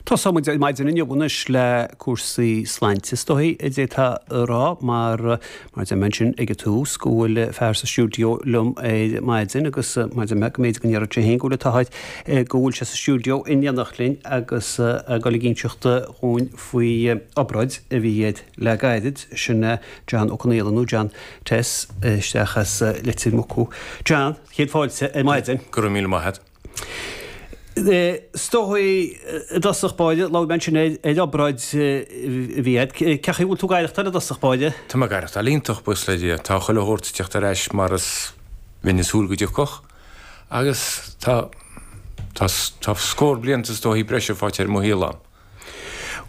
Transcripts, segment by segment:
Tosóidh muid ar maidin inniu anois le cúrsaí sláinte is dóigh a d'fhéadfá a rá mar, mar a deir mé ansin ag an tús, go bhfuil fear sa stiúideo liom ar maidin agus mar a deir mé go mb'fhéidir go ndéarfadh sé féin go bhfuil an t-ádh air go bhfuil sé sa stiúideo in éineacht linn agus ag dul ag inseacht dhúinn faoi obráid a bhí air le gairid, sin é John Ó Conaola nó John Tess isteach as Leitir Mucú. John, chéad fáilte ar maidin. Go raibh míle maith agat. Is dóigh i dtosach báire, labhair mé ansin ar obráid a bhí agat. Cén chaoi a bhfuil tú ag aireachtáil i dtosach báire? Tá mé ag aireachtáil iontach, buíochas le Dia. Tá chuile shórt ag teacht ar ais mar is bheinn ag súil go dtiocfadh agus tá tá tá scór blianta is dóichí breise faighte ar mo shaol a'm.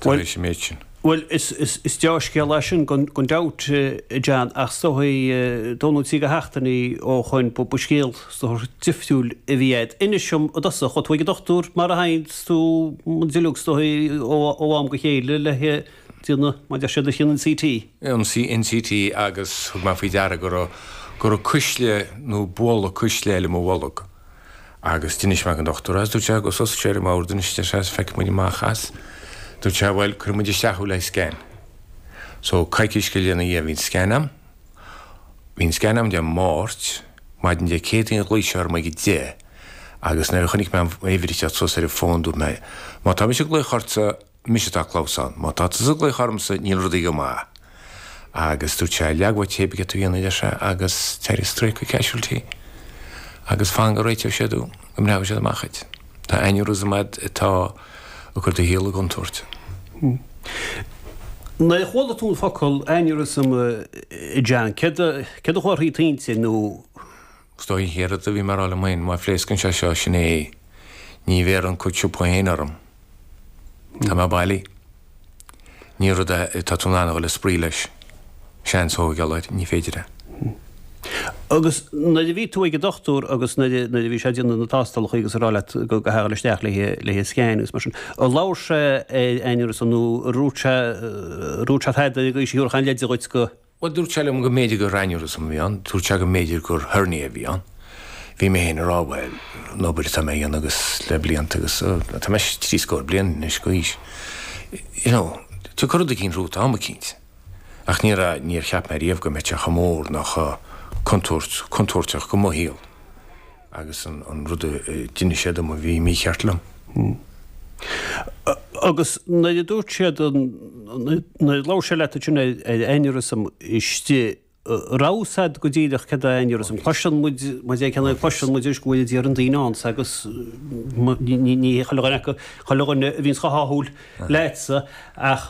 tar éis an méid sin. Bhuel, is dea-scéal é sin gan dabht, a John, ach is dóigh, dó nó trí de sheachtainí ó shoin, ba scéal is dóigh difriúil a bhí agat. Inis dom i dtosach, chuaigh tú ag an dochtúir mar a théann tú muid uilig is dóigh ó am go chéile le déanamh, mar a deir siad, an CT. An CT agus thug mé faoi deara go raibh, go raibh cuisle nó bualadh cuisle eile i mo bholg. Agus d'inis mé don dochtúir agus dúirt sé, gabh suas ar an mbord anois, deir sé, is feicfidh muid amach as. Dúirt sé, bhuel, cuirfidh muid isteach thú le haghaidh scan. So, coicís go leith ina dhiaidh bhí an scan a'm. Bhí an scan a'm Dé Máirt, maidin Dé Céadaoin ghlaoigh sé orm ag a deich agus nuair a chonaic mé an uimhir ag teacht suas ar an bhfón dúirt mé, má tá mise ag glaoch ortsa, mise atá ag clamhsán. Má tá tusa ag glaoch ormsa, níl rudaí go maith. Agus dúirt sé, leag uait pé céard atá tú a dhéanamh, a deir sé, agus téir straight go casualty agus fan go réiteoidh siad thú, go mbreacfaidh siad amach duit. Tá aneurysm a'd atá ag cur do shaol i gcontúirt. Nuair a chuala tú an focal aneurysm, a John, céard a chuaigh thrí d'intinn nó. Is dóigh an chéad rud a bhí mé a rá liom féin, má phléascann sé seo, sin é, ní bhéarfaidh an cuid siopa féin orm. Tá mé bailí. Ní rud é atá tú in ann a dhul ag spraoi leis. Seans a thógáil air, ní féidir é. Agus nuair a bhí tú ag an dochtúir agus nuair a bhí sé ag déanamh na tástálacha agus ag rá leat go gcaithfeá a dhul isteach le haghaidh scan agus mar sin, ar labhair sé ar aneurysm nó ar dhúirt sé, ar dhúirt sé tada ag aois a thabharfadh aon leid dhuit go. Bhuel, dúirt sé liom go mb'fhéidir gur aneurysm a bhí ann, dúirt sé go mb'fhéidir gur hernia a bhí ann. Bhí mé féin ag rá, bhuel, an obair atá mé a dhéanamh agus le blianta agus, tá mé trí scór bliain anois d'aois, you know, tiocfaidh rud eicínt romhat am eicínt. Ach ní raibh, níor cheap mé riamh go mbeadh sé chomh mór ná chomh contúirt, contúirteach go mo shaol. Agus an rud a d'inis sé dom a bhí mícheart liom. Agus nuair a dúirt siad, nuair a labhair sé leat ansin ar aneurysm istigh, raibh fhios a'd go díreach céard é aneurysm? Cloiseann muid, mar a déarfá, cloiseann muid anois go bhfuil a d'iarrann daoine ann agus ní hé chuile dhuine acu, chuile dhuine a bhíonns chomh hádhúil leatsa ach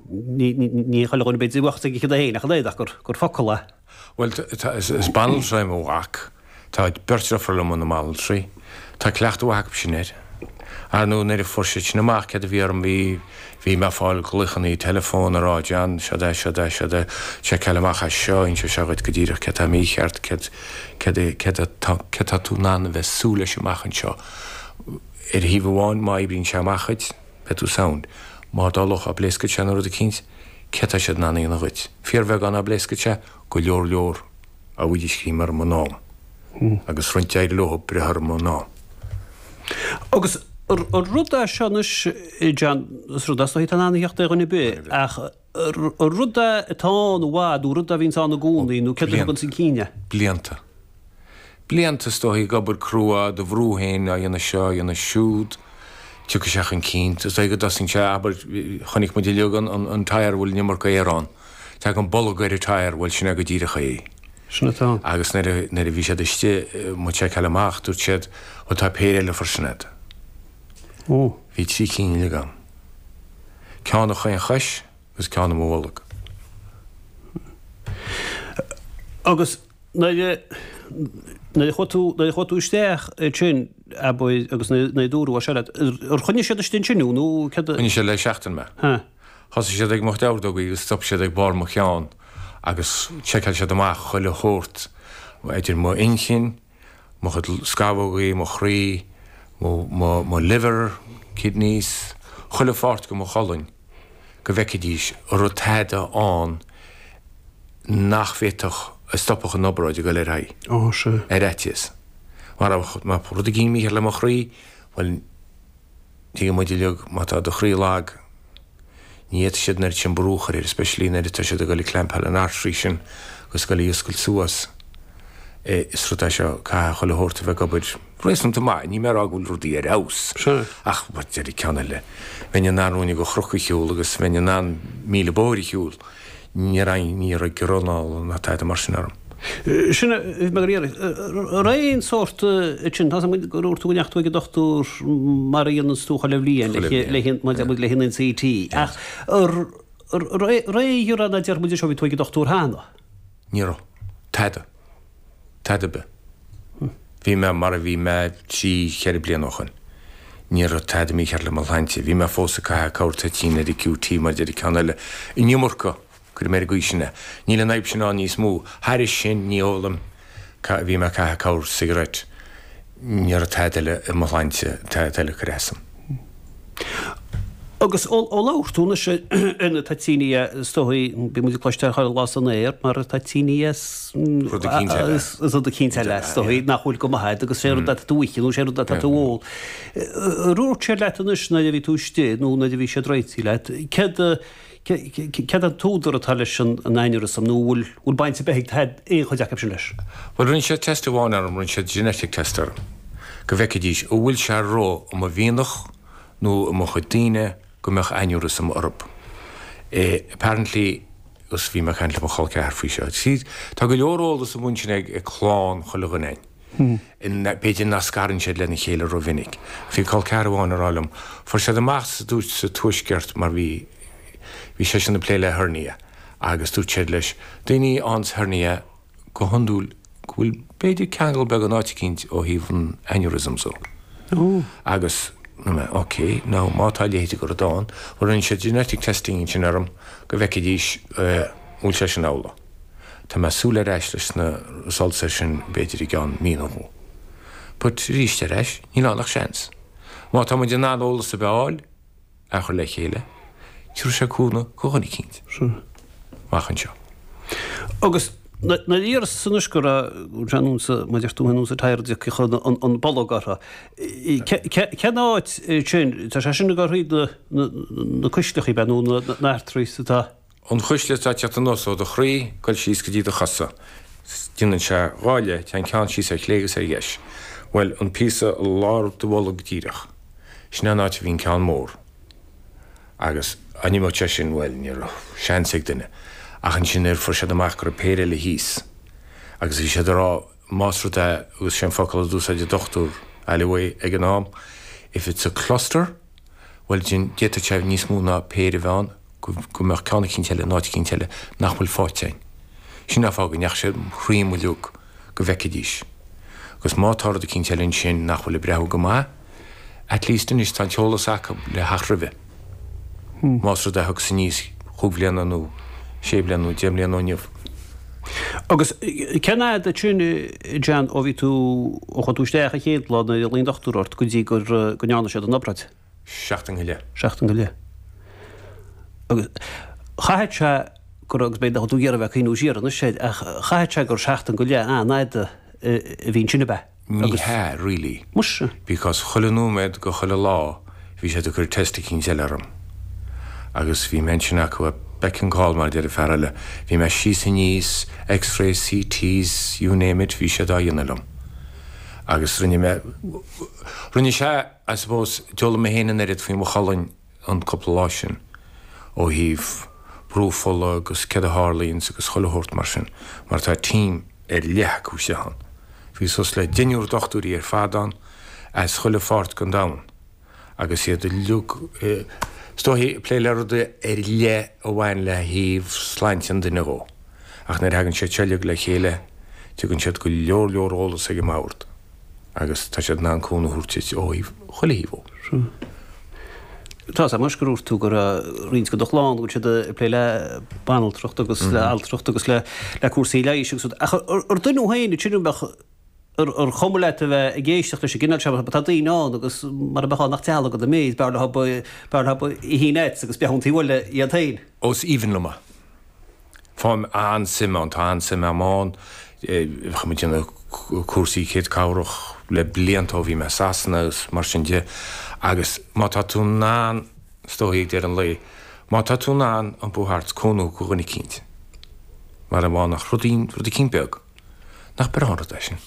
ní hé chuile dhuine b'fhéidir a bheadh fhios aige céard é féin ach an oiread ach gur focal é. Bhuel, is banaltra é mo mhac. Tá beirt deirfiúr liom ina mbanaltraí. Tá cleachtadh mhaith acu sin air. Ar ndóigh, nuair a fuair siad sin amach céard a bhí orm, bhí, bhí mé ag fáil glaochannaí teileafóin ag rá, John, seod é, seod é, seod é, seiceáil amach é seo, inseoidh sé dhuit go díreach céard atá mícheart, céard, céard, céard atá, céard atá tú in ann a bheith ag súil leis amach anseo. Ar thaobh amháin, má oibríonn sé amach dhuit, beidh tú sound. Má dtarlódh, pléascfaidh sé nó rud eicínt, céard tá siad in ann a dhéanamh dhuit? Fíorbheagán dá bpléascfadh sé, go leor leor a bhfaighidís scream orm in am. Agus roinnt d'éirigh leo breith orm in am. Agus an rud é seo anois, John, is rud é is dóichí atá in ann a theacht ar dhuine ar bith, ach an rud é atá ann i bhfad nó rud é a bhíonns ann i gcónaí nó céard a thugann chun cinn é? Blianta. Blianta is dóichí ag obair crua, do bhrú féin á dhéanamh seo, á dhéanamh siúd, tiocfaidh sé chun cinn. Is dóichí go dtosaíonn sé, abair, chonaic muid uilig an tyre a bhfuil an iomarca aer ann. Tagann bolg ar an tyre, bhuel sin é go díreach é. Sin atá ann. Agus nuair a, nuair a bhí siad istigh, mo tseiceáil amach, dúirt siad, bhuel tá péire eile freisin agat. Ó. Bhí trí cinn uilig agam. Ceann i chaon chois agus ceann i mo bholg. Agus Nuair a, nuair a chuaigh tú, nuair a chuaigh tú isteach ansin, abair, agus nuair a dúradh é seo leat, ar choinnigh siad istigh ansin thú nó céard a. Choinnigh siad le seachtain mé. Ha. Thosaigh siad ag mo chuid ordógaí agus stop siad ag barr mo cheann agus sheiceáil siad amach chuile shórt, idir mo inchinn, mo chuid scamhógaí, mo chroí, mo, mo, mo liver, kidneys, chuile pháirt de mo cholainn go bhfeicfidís an raibh tada ann nach bhféadfadh, a stopfadh an obráid ag dul ar aghaidh. Ó, sea. Ar fhaitíos. Má raibh, má raibh rud éigin mícheart le mo chroí, bhuel. Tuigeann muid uilig, má tá do chroí lag, ní fhéadfaidh siad an oiread sin brú a chur air, especially nuair atá siad ag dul ag clampáil an artery sin agus ag dul í a oscailt suas. Is rud é seo, caithfidh chuile shórt a bheith ag obair réasúnta maith, níl mé ag rá go bhfuil rudaí ar fheabhas, ach mar deir an ceann eile, bheinn in ann ruainne de chnoc a shiúl agus bheinn in ann míle bóthair a shiúl. Ní raibh, ní raibh giorra ná tada mar sin orm. Sin a bhí mé ag iarraidh. An raibh aon sórt sin, tá a fhios agam gur dhúirt tú go ndeachaigh tú ag an dochtúir mar a dhéananns tú chuile bhliain le haghaidh an CT, ach an raibh aon ghiorra ná déarfaidh muid anseo bhí tú ag an dochtúir cheana? Ní raibh. Tada. Tada ar bith. Bhí mé mar a bhí mé 3, 4 bliana ó shoin. Ní raibh tada mícheart le mo shláinte. Bhí mé fós ag caitheamh corr toitín ar an QT mar deir an ceann eile. An iomarca! Cuirfidh mé ar an gcaoi sin é. Níl an fhadhb sin ann níos mó. Thairis sin, ní ólaim. Bhí mé ag caitheamh corr cigarette. Ní raibh tada eile i mo shláinte, tada eile ag cur asam. Agus ó labhair tú anois ar na toitíní is dóigh, bíonn muid ag cloisteáil chuile lá san aer mar toitíní is rud eicínt eile. Is rud eicínt eile is dóigh nach bhfuil go maith agus sé rud atá tú a ithe nó sé rud atá tú a ól. Ar dhúirt siad leat anois nuair a bhí tú istigh nó nuair a bhí siad réitithe leat, céard Céard an t-údar atá leis an aneurysm nó an bhfuil baint ar bith ag aon chuid acu sin leis? Bhuel, rinne siad test amháin orm, rinne siad genetic test orm, go bhfeicfidís an bhfuil sé ró i mo mhianach nó i mo chuid daoine go mbeadh aneurysm orthu. Apparently, agus bhí mé ag caint le mo chol ceathar faoi seo, see, tá go leor eolas amuigh ansin ag clann chuile dhuine againn. B'fhéidir nach scarann siad lena chéile rómhinic. Bhí col ceathar amháin ag rá liom, fuair siad amach sa dúirt sa tuaisceart mar bhí bhí seisean ag plé le hernia agus dúirt siad leis, daoine a fhaigheanns hernia go hiondúil go bhfuil b'fhéidir ceangal beag in áit eicínt ó thaobh an aneurysm so. Agus mé ok, now má tá a leithéid de rud ann, bhuel rinne siad genetic testing ansin orm go bhfeicfidís an bhfuil sé sin amhlaidh. Tá mé ag súil ar ais leis na results air sin b'fhéidir i gceann mí nó dhó. But arís ar ais, níl ann ach seans. Má tá muid in ann eolas ar bith a fháil, a chur le chéile, tabharfaidh sé cúnamh do dhuine eicínt amach anseo. Agus nuair a iarras anois go raibh sé anonn sa, mar a deir tú anonn sa tire a dtiocfadh an bolg orthu, cén áit sin, tá sé sin ag dul thríd na cuisleacha, ab ea, nó na arteries atá. An chuisle atá ag teacht anuas ó do chroí, ag dul síos go dtí do chosa. Déanann sé dhá leith, téann ceann síos ar chlé agus ar dheis. Bhuel, an píosa i lár do bholg díreach. Sin é an áit a bhí an ceann mór. Agus dá n-imeodh sé sin, bhuel, ní raibh seans ag duine. Ach ansin nuair a fuair siad amach go raibh péire eile thíos. Agus bhí siad ag rá, más rud é, agus sé an focal a d'úsáid an dochtúir Alleyway ag an am, if it's a cluster, bhuel, d'fhéadfadh sé níos mó ná péire a bheith ann. go mbeadh ceann eicínt eile in áit eicínt eile nach bhfuil faighte againn. Sin an fáth go ndeachaigh sé thríom uilig go bhfeicfidís. Agus má tá rud eicínt eile ansin nach bhfuil ag breathú go maith, at least anois tá an t-eolas acu le theacht roimhe. Más rud é a thiocfas aníos chúig bhliana nó sé bliana nó 10 mbliana ó inniu. Agus cén fhad sin, John, ó bhí tú, ó chuaigh tú isteach an chéad lá nuair a ghlaoigh an dochtúir ort go dtí gur, go ndearna siad an obráid? Seachtain go leith. Seachtain go leith. Agus chaithfeadh sé gur, agus b'fhéidir nach bhfuil tú ag iarraidh a bheith ag cuimhniú siar anois air, ach chaithfeadh sé gur seachtain go leith an-fhada a bhí ansin ab ea? Ní hea, really. Muise. Because chuile nóiméad go chuile lá bhí siad ag cur test eicínt eile orm. Agus bhí mé ansin acu at beck and call mar a deir an fear eile. Bhí mé síos aníos, x-rays, CTs, you name it, bhí siad á dhéanamh liom. Agus rinne mé, rinne sé, I suppose, d'fhoghlaim mé féin an oiread faoi mo cholainn an cúpla lá sin, ó thaobh brú fola agus céard a tharlaíonns agus chuile shórt mar sin, mar tá team ar leith acu istigh ann. Bhí suas le deichniúr dochtúirí ar fad ann as chuile pháirt den domhan agus iad uilig, is dóichí, ag plé le rudaí ar leith a bhain le thaobh sláinte an duine dhó. Ach nuair a thagann siad seo uilig le chéile, tugann siad go leor leor eolas ag an mbord. agus tá siad in ann cúnamh a thabhairt duit ó thaobh chuile thaobh dhó. Tá a fhios agam anois gur dhúirt tú go raibh roinnt de do chlann go bhfuil siad ag plé le banaltracht agus le altracht agus le cúrsaí leighis agus rud ach ar duine thú féin ansin an mbeadh ar chuma leat a bheith ag éisteacht leis an gcineál seo mar tá daoine ann agus mar a bheadh ann nach dealg do méid b'fhearr leo b'fhearr leo a nets agus beith ón taobh eile iad féin. Ó is aoibhinn liom é. Faighim an-suim ann, tá an-suim agam ann. Chuaigh muid ag déanamh cúrsaí céad cabhrach le blianta ó bhí mé i Sasana agus mar sin de. Agus má tá tú in ann, is dóigh ag deireadh an lae, má tá tú in ann iompú thart 's cúnamh go dhuine eicínt, mar a bheadh nach rud, rud eicínt beag, nach breá an rud é sin?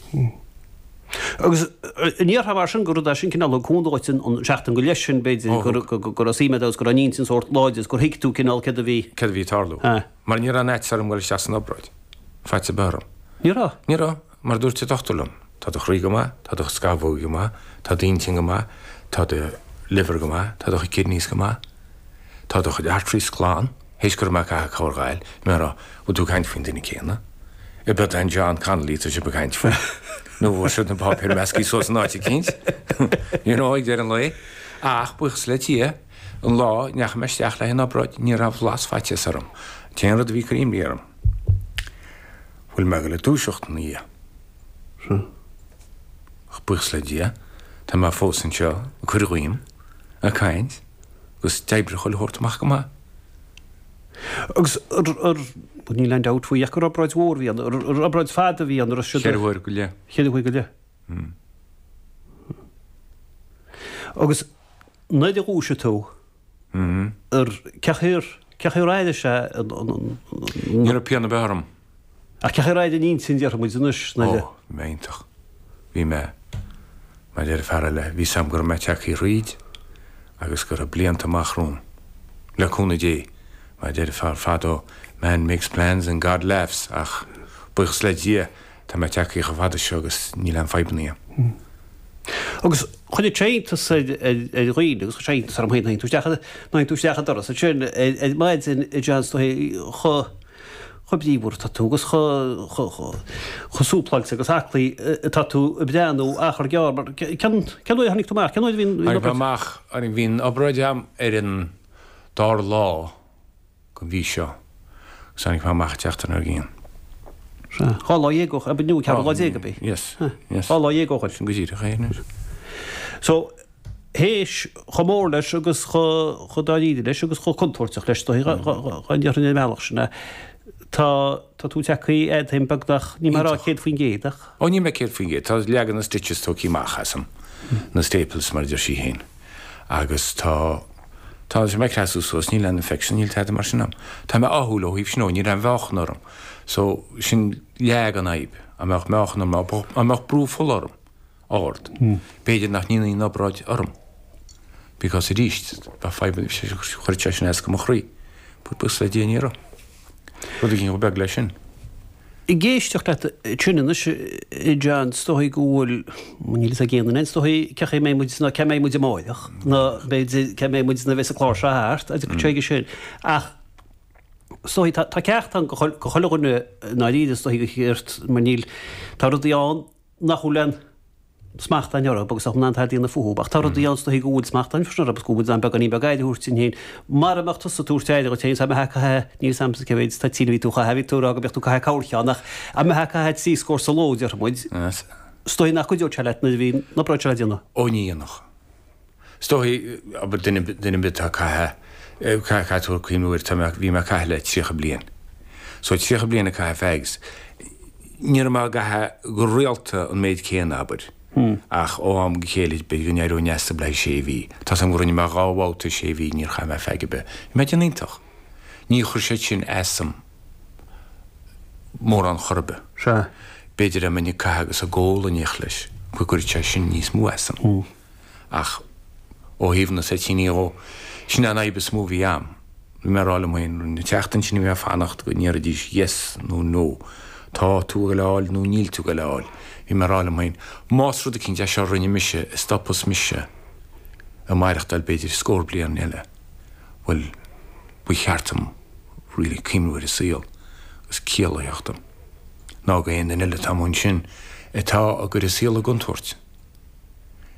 Agus an ndéarfá mar sin gur rud é sin cineál thug cúnamh dhuit an seachtain go leith sin, b'fhéidir, go raibh suim agat agus go raibh an intinn sórt láidir agus gur thuig tú cineál céard a bhí. Céard a bhí ag tarlú. Mar ní raibh aon fhaitíos orm dul isteach san obráid. Faitíos ar bith orm. Ní raibh? Ní raibh. Mar a dúirt an dochtúir liom, tá do chroí go maith, tá do scamhógaí go maith, tá d'intinn go maith, tá do liver go maith, tá do chuid kidneys go maith, tá do chuid arteries glan, théis go raibh mé ag caitheamh corrghail, mé ag rá, bhfuil tú ag caint faoin duine céanna? Ab é an John Connolly atá sibh ag caint faoi? Nó bhfuil siad na páipéir measctha suas in áit eicínt? You know, ag deireadh an lae. Ach, buíochas le Dia, an lá a ndeachaigh mé isteach le haghaidh an obráid, ní raibh blas faitíos orm. An t-aon rud a bhí ag cur imní orm, Bhfuil mé ag dul ag dúiseacht ina dhiaidh? Sea. Ach buíochas le Dia, tá mé fós anseo ag cur dhíom, ag caint, agus d'oibrigh chuile shórt amach go maith. Agus ar, ar, bhuel níl aon dabht faoi ach gur obráid mhór a bhí ann, ar, ar obráid fada a bhí ann, ar siad. Cheithre huaire go leith. Cheithre huaire go leith. Agus nuair a dhúisigh tú, Ar cén chaoi ar, cén chaoi ar airigh sé an, an, Ní raibh pian ar bith orm. Ach cén chaoi ar airigh an intinn, déarfaidh muid anois, nuair a. Ó, bhí mé iontach. Bhí mé, mar a deir fear eile, bhí 's a'm go raibh mé tagtha thríd agus go raibh blianta amach romham. Le cúnamh Dé. Mar a deir fear fadó, man makes plans and God laughs ach buíochas le Dia, Tá mé tagtha chomh fada seo agus níl aon fadhbanna agam. Agus chuirfeadh sé iontas ar dhaoine agus chuir sé iontas orm féin, nuair a théann tú isteach an doras ansin ar maidin a John is dóigh chomh chomh bríomhar atá tú agus chomh chomh súpláilte agus aclaí atá tú ag breathnú achar gearr mar cén cén uair a tháinig tú amach? Cén uair a bhí an Tháinig mé amach, bhí an obráid agam ar an dara lá. den mhí seo agus tháinig mé amach an tseachtain dár gcionn. Sea. 12 lá ó ab nó 14 lá ab é? Yes, yes. 12 lá ó shin. Sin go díreach é anois. So, théis chomh mór leis agus chomh dáiríre leis agus chomh contúirteach leis, dá ndéarfainn ar an mbealach sin é, tá tá tú tagtha fhad ó shin beagnach, níl mé ag rá 100% ach. Ó níl mé 100%, tá leagan na stitches tógtha amach asam, na staples mar a deir sí féin. Agus tá, tá mé ag creasú suas, níl aon infection, níl tada mar sin a'm. Tá mé ádhúil ó thaobh sin ó, níl aon mheáchan orm. So, sin leath den fhadhb, dá mbeadh meáchan orm, dá mbeadh brú fola orm, ard, b'fhéidir nach ndéanfaí an obráid orm. Because arís, bheadh fadhb, chuirfeadh sé sin as go mo chroí. But buíochas le Dia ní raibh. Rud éigin chomh beag leis sin. Ag éisteacht leat ansin anois, a John, is dóigh go bhfuil, níl fhios ag aon duine, is dóigh cén chaoi a mbeidh muid, nó cá mbeidh muid amáireach, nó b'fhéidir cá mbeidh muid nuair a bheas an clár seo thart, agus go chuige sin. Ach is dóigh, tá ceacht ann go chuile dhuine i ndáiríre, is dóigh, go cheart, mar níl, tá rudaí ann nach bhfuil aon smacht againn orthu agus nach bhfuil in ann tada a dhéanamh fúthu. Ach tá rudaí ann is dóigh go bhfuil smacht againn freisin orthu agus go bhfuil muid in ann beagáinín beag aire a thabhairt dúinn féin. Mara mbeadh tusa ag tabhairt aire dhuit féin, dá mbeifeá ag caitheamh, níl 'fhios a'msa cé mhéid toitín a bhí tú a chaitheamh, bhí tú ag rá go mbeadh tú ag caitheamh corrcheann ach dá mbeifeá ag caitheamh 3 scór sa ló, déarfaidh muid, is dóigh nach gcuideodh sé leat nuair a bhí an obráid seo le déanamh. Ó ní dhéanfadh. Is dóigh, abair, duine, duine ar bith atá ag caitheamh, caithfidh tú cuimhniú air, tá mé, bhí mé ag caitheamh le 30 bliain. So 30 bliain ag caitheamh fags, ní raibh mé ag caitheamh go rialta an méid céanna, abair, ach ó am go chéile b'fhéidir go n-éireoinn as le haghaidh sé mhí. Tá's agam go rinne mé dhá bhabhta sé mhí, níor chaith mé fag ar bith. Bhí mé ag déanamh iontach. Ní chuir siad sin asam mórán chor ar bith. Sea. B'fhéidir dá mbeinn ag caitheamh agus ag ól in éineacht leis, go gcuirfeadh sé sin níos mó asam. Ach ó thaobh na toitíní dhó, sin é an fhadhb is mó a bhí a'm. Bhí mé ag rá liom féin, an tseachtain sin a bhí mé ag fanacht go ndéarfaidís yes nó no, tá tú ag goil a fháil nó níl tú ag goil a fháil. Bhí mé ag rá liom féin, más rud eicínt é seo a rinne mise a stopfas mise ag maireachtáil b'fhéidir scór bliain eile, bhuel, ba cheart dom really cuimhniú ar an saol agus ciall a theacht dom. Ná go aon duine eile atá amuigh ansin atá ag cur a saol i gcontúirt.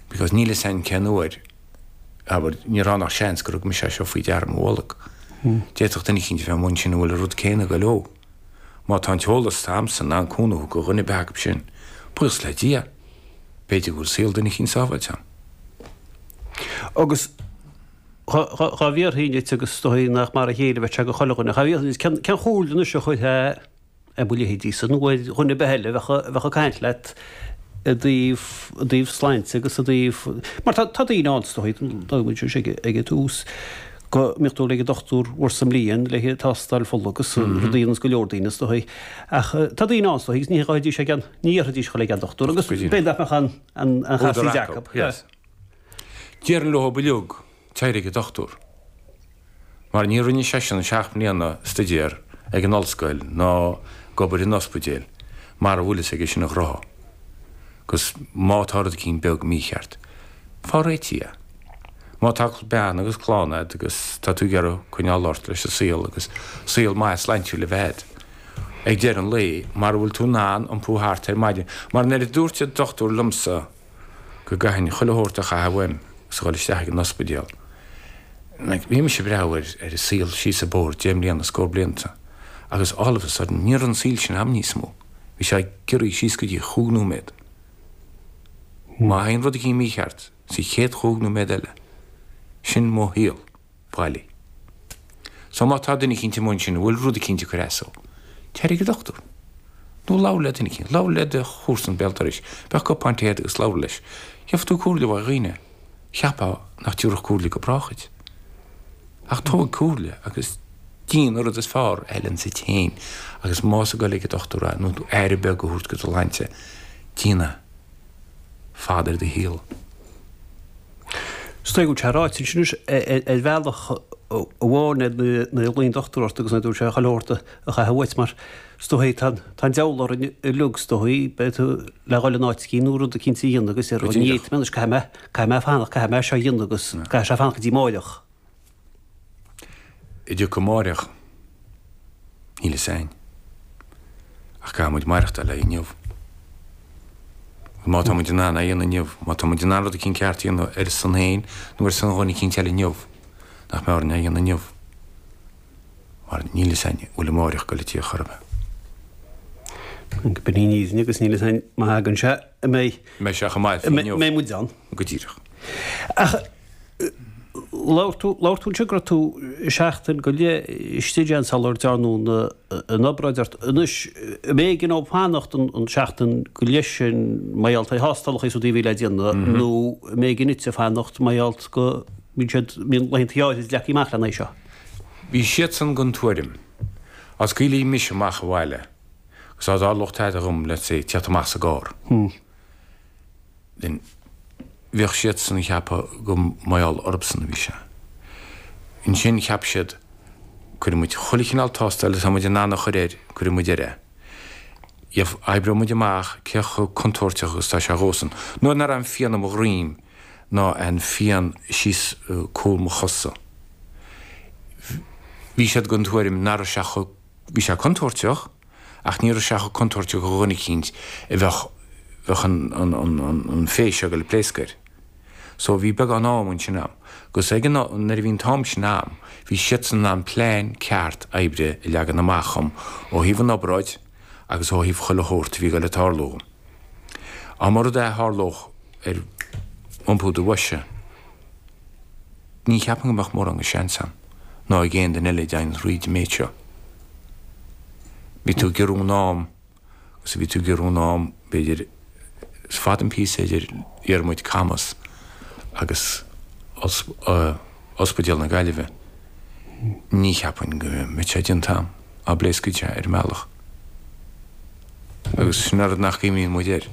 Because níl fhios a'inn cén uair, abair, ní raibh ann ach seans gur thug mise é seo faoi deara i mo bholg. D'fhéadfadh duine eicínt a bheith amuigh ansin a bhfuil an rud céanna ag goil leo. Má tá an t-eolas atá a'msa in ann cúnamh do dhuine ar bith acu sin, buíochas le Dia, b'fhéidir go bhfuil saol duine eicínt sábháilte a'm. Agus dhá bhfiafróinn díot agus is dóigh nach mar a chéile a bheadh sé do chuile dhuine, dhá bhfiafróinn díot, cén chomhairle anois a chuirfeá ar mo leithéidísa nó ar dhuine ar bith eile a bheadh ag caint leat? I dtaobh, i dtaobh sláinte agus i dtaobh, mar tá, tá daoine ann is dóigh, luaigh muid ag, ag an tús, go mbíodh tú ag an dochtúir uair sa mbliain le haghaidh tástáil fola agus rudaí ar nós go leor daoine is dóigh. Ach tá daoine ann is dóigh agus ní ghabhfaidís ag an, ní iarrfaidís dhul ag an dochtúir agus b'fhéidir nach mbeadh an, an, an chasaoid acu. Yes. Déarfainn leo uilig, téir ag an dochtúir. Mar ní rinne seisean 7 mbliana stuidéar ag an ollscoil ná ag obair in ospidéal mara bhfuil fhios aige sin a ghnótha. 'Gus má tá rud eicínt beag mícheart, faigh réitithe é. Má tá bean agus clann a'd agus tá tú ag iarraidh coinneáil ort leis an saol agus saol maith slaintiúil a bheith a'd, ag deireadh an lae, mara bhfuil tú in ann iompú thart ar maidin, mar nuair a dúirt an dochtúir liomsa, go gcaithfinn chuile shórt a chaitheamh uaim agus a dhul isteach ag an ospidéal. Like, bhí mise ag breathnú ar ar an saol síos an bóthar deich mbliana, scór blianta, agus all of a sudden ní raibh an saol sin a'm níos mó. Bhí sé giorraithe síos go dtí chúig nóiméad. Má théann rud eicínt mícheart sa chéad chúig nóiméad eile, sin mo shaol. Bailigh. So má tá duine eicínt amuigh ansin a bhfuil rud eicínt ag cur as dó, téir ag an dochtúir. Nó labhair le duine eicínt. Labhair le do chomharsan béal dorais. Bheadh cupán tae agat agus labhair leis. Gheobhaidh tú comhairle uaidh dhaoine. Cheapfá nach dtiúrfadh comhairle go brách dhuit. Ach tóg comhairle agus déan an rud is fearr a fheileanns duit féin agus más ag dul ag an dochtúir é nó aire beag a thabhairt do do shláinte, déan é. Fad ar do shaol. Is dóigh go bhfuil sé ráite ansin anois ar bhealach amháin nuair a ghlaoigh an dochtúir ort agus nuair a dúirt sé chuile shórt a chaitheamh uait mar is dóigh tá an diabhal orainn uilig is dóigh beidh tú le dhul in áit eicínt nó rud eicínt a dhéanamh agus ar ní fhéadfaidh mé anois caithfidh mé caithfidh mé fanacht caithfidh mé seo a dhéanamh agus caithfidh sé fanacht go dtí amáireach. An dtiocfaidh amáireach. Níl fhios a'inn. Ach caithfidh muid maireachtáil le inniu. Má tá muid in ann é a dhéanamh inniu, má tá muid in ann rud eicínt ceart a dhéanamh ar a son féin nó ar son dhuine eicínt eile inniu, nach mbeadh orainn é a dhéanamh inniu? Mar níl fhios a'inn an bhfuil amáireach ag goil a tíocht chor ar bith. B'in í an fhírinne agus níl fhios a'inn má thagann sé an mbeidh. Mbeidh sé chomh maith inniu. Mbeidh muid ann. Go díreach. Ach labhair tú, labhair tú anseo go raibh tú seachtain go leith istigh ann sular dearnadh an obráid ort. Anois, an mb'éigean dóibh fanacht an seachtain go leith sin mar gheall ar thástálacha is rudaí a bhí le déanamh nó an mb'éigean duitse fanacht mar gheall go mbíonn siad, mbíonn laethanta áirid leagtha amach lena aghaidh seo? Bhí siadsan den tuairim, dá scaoilfí mise amach abhaile agus dá dtarlódh tada dhom, let's say, tíocht amach sa gcarr. Then bheadh siadsan ag ceapadh go mar gheall orthusan a bhí sé. Ansin cheap siad, cuirfidh muid chuile chineál tástáil atá muid in ann a chur air, cuirfidh muid air é. Oibreoidh muid amach cé chomh contúirteach agus atá sé dhósan. Nuair nach raibh aon phian i mo dhroim ná aon phian síos cúl mo chosa, bhí siad den tuairim nach raibh sé chomh, bhí sé contúirteach, Ach ní raibh sé chomh contúirteach do dhuine eicínt a bheadh, bheadh an, an, an, an, an féith seo ag dul ag pléascadh air. So bhí beagán am ansin a'm. Agus ag an, nuair a bhí an t-am sin a'm, bhí siadsan in ann plean ceart oibre a leagan amach dhom ó thaobh an obráid agus ó thaobh chuile shórt a bhí ag dul ag tarlú dhom. Dá mba rud é a tharlódh ar iompú do bhoise, Ní cheapaim go mbeadh mórán de sheans a'm, ná ag aon duine eile a dtéann thríd an méid seo. Bhí tú ag giorrú an am, agus bhí tú ag giorrú an am, b'fhéidir, is fada an píosa idir déarfaidh muid Camas agus Ospidéal na Gaillimhe. Ní cheapaim go mbeadh sé déanta a'm, dá bpléascfadh sé ar an mbealach. Agus sin an rud nach gcuimhníonn muid air.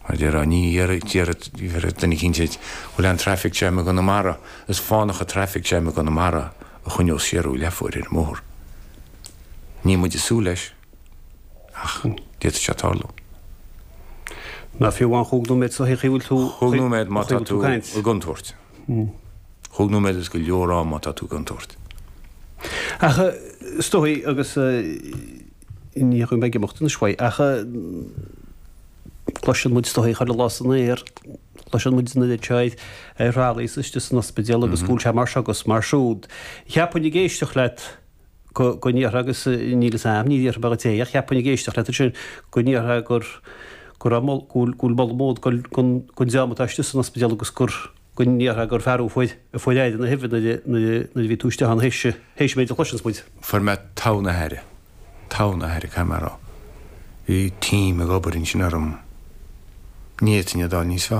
Mar a déarfá, ní dhéarfadh duine eicínt duit, bhfuil an traffic jam i gConamara, is fánach an traffic jam i gConamara a choinneos siar thú leathuair ar an mbóthar. Níl muid ag súil leis, ach d'fhéadfadh sé tarlú. Ná fiú amháin chúig nóiméad sa chaoi a bhfuil tú Chúig nóiméad má tá tú i gcontúirt. Chúig nóiméad is go leor am má tá tú i gcontúirt. Ach is dóigh agus ní raibh mé ag imeacht anois uaidh ach cloiseann muid is dóigh chuile lá san aer, cloiseann muid an oiread seo ar thralaí is istigh san ospidéal agus go bhfuil sé mar seo agus mar siúd. Cheapfainn ag éisteacht leat go ndéarfá agus níl fhios a'm, ní déarfaidh mé dhuit é ach cheapfainn ag éisteacht leat ansin go ndéarfá gur go raibh go bhfuil go bhfuil moladh mór ag dul don dream atá istigh san ospidéal agus gur go ndéarfá gur fear thú a fuair aire na huibhe nuair a bhí tú istigh ann théis théis an méid a chloiseanns muid. Fuair mé togha na haire. Togha na haire, caithfidh mé a rá. Bhí team ag obair ansin orm. Ní fhéadfainn iad a fháil níos fearr.